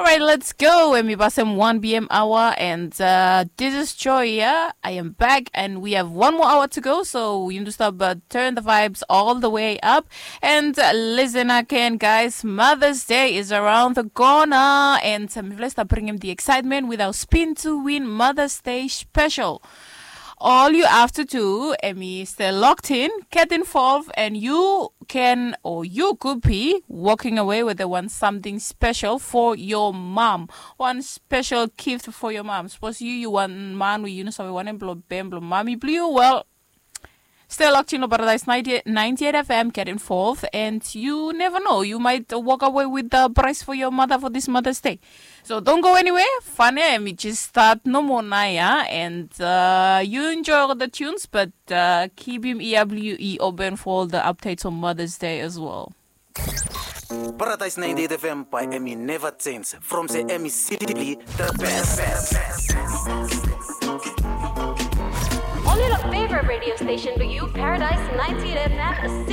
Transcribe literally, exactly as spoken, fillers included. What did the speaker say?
All right, let's go. Hemi pasem one p.m. hour, and uh, this is Joy here. I am back, and we have one more hour to go. So you need to stop, uh, turn the vibes all the way up, and uh, listen again, guys. Mother's Day is around the corner, and um, let's start bringing the excitement with our Spin to Win Mother's Day special. All you have to do, hemi stay locked in, get involved, and you can, or you could be walking away with a one something special for your mom. One special gift for your mom. Suppose you, you want man with you know, so one blong bam blong mommy blue. Well, stay locked in on Paradise ninety-eight F M, get involved, and you never know, you might walk away with the prize for your mother for this Mother's Day. So don't go anywhere. Fun hemi just start nomo naoia, and uh, you enjoy all the tunes, but uh, keep him E W E open for all the updates on Mother's Day as well. Paradise ninety-eight F M by Emmy never change. From the Emmy City, the best. Only your favorite radio station for you, Paradise ninety-eight F M.